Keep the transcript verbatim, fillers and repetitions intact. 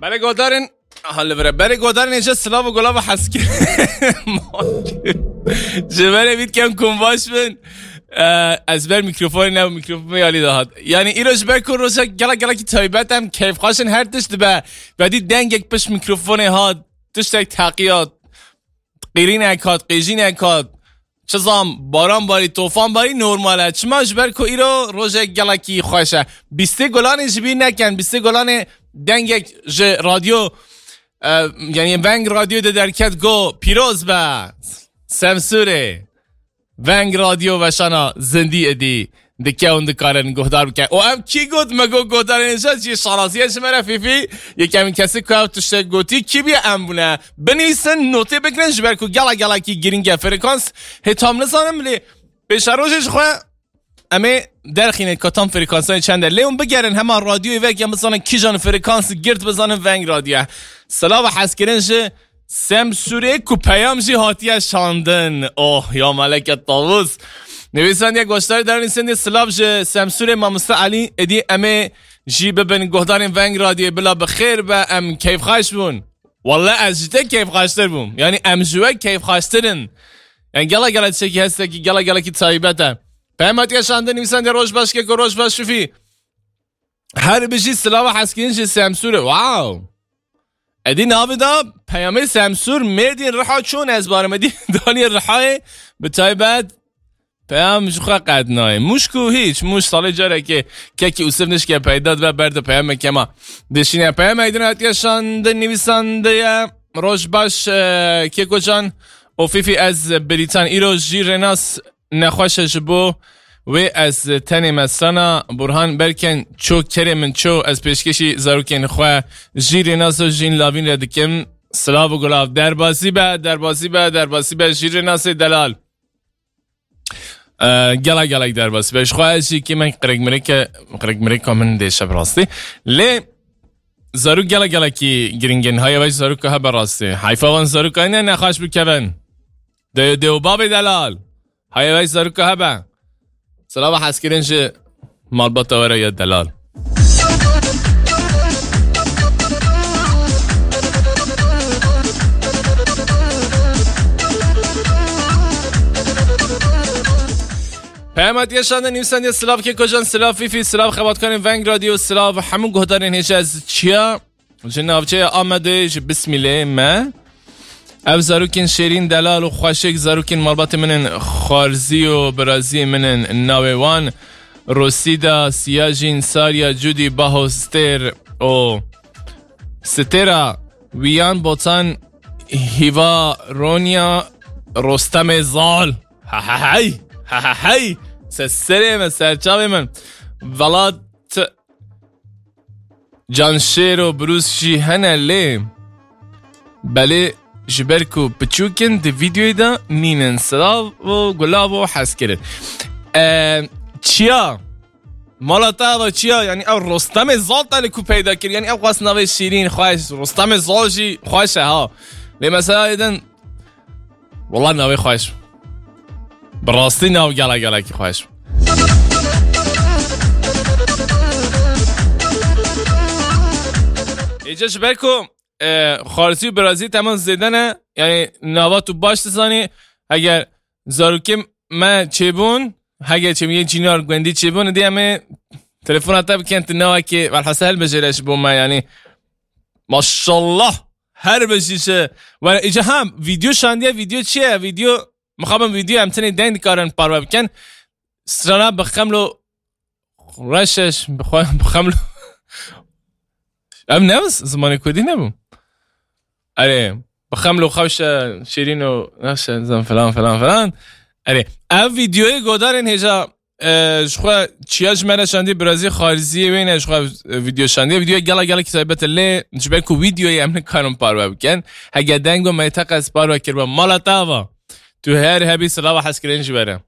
Hele godarên, aha, li vir e. Berê godarên êce silav û gulav û heskir. Ji berê vît kem kum baş bin. Ee, ez ber mikrofonê ne, mikrofonê alî de hat. Yani îro ji ber ku rojek gelek gelekî taybet em keyfxweş in, her tişt dibe. Vedî dengek pişt mikrofonê hat, tiştek teqiya, qîrînek hat, qêjînek hat, çi zam, baran barî, tofan barî normal e. Çima? Ji ber ku îro rojek gelekî xweş e. Bîstê golanê ji bîr nekin, bîstê golanê dengek ji radyo, e, yani veng radyo de derket go, pîroz be, Semsûrê. Veng radyo veşana zindî êdî dikevin, dikarin guhdar bikin. Û ev kî got? Me got guhdarên êce jî şanazî ye ji me re, Fîfî. Yekemîn kesî ku ev tiştek gotî kî bîye, em bûne. Binivîsin, notê bigirin, ji ber ku gela gelekî girîng e frekans. Hê tam nizanim lê pêşerojê ji xwe em ê derxînin ka tam frekansanê çend e. Lê hûn bigerin hema radyoyê vek em bizanin kîjan frekans girt, bizanin veng radyo ye. Silav û hezkirin ji Semsûrê ku peyam jî hatiye şandin. Oh ya meleke tavûz. Nivîsandiye goştarî dernîsendê silav ji Semsûrê mamoste Elî, êdî em ê jî bibin guhdarên veng radyoyê, bila bi xêr be, em keyfxweş bûn. Welle ez ji te keyfxweştir bûm. Yani em ji we keyfxweştir in. Yani gela gela tiştekî hestekî gela gelekî taybet e. Peyam hatiye şandin, nivîsandiye roj baş keko, roj baş Şifî. Her bijî, silava hezkirin ji Semsûrê. Wow. Êdî navê da peyamê Semsûr, Mêrdîn, Riha çûn ez barim. Êdî danî Rihayê bi taybet peyam ji xwe qet nayê. Mûş ku hîç, Mûş salê carekê kekî Ûsif nişke peyda dibe, ber di peyamê kema dişîne. Peyamê din hatiye şandin, nivîsandiye. Roj baş, e, Kêkocan û Fîfî, ez Brîtan. Îro jî Rênas nexweş e, ji bo wê ez tenê me strana Burhan Berken ço kerê min ço, ez pêşkêşî zarokên xwe jî Rênas û Jîn Lavîn re dikim. Silav û gulav. Derbasî be, derbasî be, derbasî be jî Rênasê delal. E, gela gelek derbasî be. Ji xwe ez jî kî me qirêkmirêke, qirêkmirêka min dêşe bi rastî. Lê zarok gela gelekî giringin. Haya veş zaroka hebe rastî. Heyfa van zaroka ne nexweş bikevin. Dê, dê û bavê delal. Haya veş zaroka hebe. Silava hezkirin ji malbata we re ya delal. Peyam hatiye şandin, nivîsandiye silav Kêkocan, silav Fîfî, silav xebatkarên Veng Radyo, silav hemû guhdarên hêja, ez Çiya. Ji navçeya Amedê ji Bismîlê me. Ev zarokên şêrîn, delal û xweşik, zarokên malbatê min in, xwarzî û biraziyê min in. Navê wan Rosîda, Siyajîn, Sarya, Cudî, Baho, Stêr û Stêra Wiyan, Botan, Hîva, Ronya, Rostemê Zal. Ha ha hey! Ha ha hey! Se serê min, serçavê min. Velat Canşêr û Brûs jî hene lê belê ji ber ku piçûk in di vîdyoyê de nînin. Silav û gulav û hezkirin. E, Çiya. Mala te ava Çiya, yani ev Rostemê Zal te li ku peyda kir. Yani ev xwest navê şîrîn, xweş. Rostemê Zal jî xweş e ha. Lê mesela êdin Wala navê xweş. Bi rastî nav gela gelekî xweş. Êce ji ber ku, e, xwarzî û birazî teman zêde ne, yani nava tu baş dizanî, heger zarokê me çêbûn, heger çêbûn yê cînar gundî çêbûn, dê em ê telefona te bikin, tu navekê welhasel bijêre ji bo me, yani maşallah. Her bijî ji. Were, îca ha, vîdeo şandiye, vîdeo çi ye? Vîdeo, mixabin vîdeo em tenê deng dikarin parve bikin. Strana bi xemlo reşeş, bi xwe, bi xemlo. Ev ne zimanê kurdî nebû? Erê, bi xemlo xewşe, şîrîn û neşe, zan filan, filan, filan. Erê, ev vîdeoyê godarên hêja, e, ji xwe Çiya ji me re şandî, birazî xariziyê wê ne ji xwe, e, vîdeo şandiye. Vîdeoya gela, gelekî taybet e lê ji ber ku vîdeoyê em nikarin parve bikin. Hege deng û me teqez parve kiribe mala te ava. Tu her hebî silava hezkirin ji we re.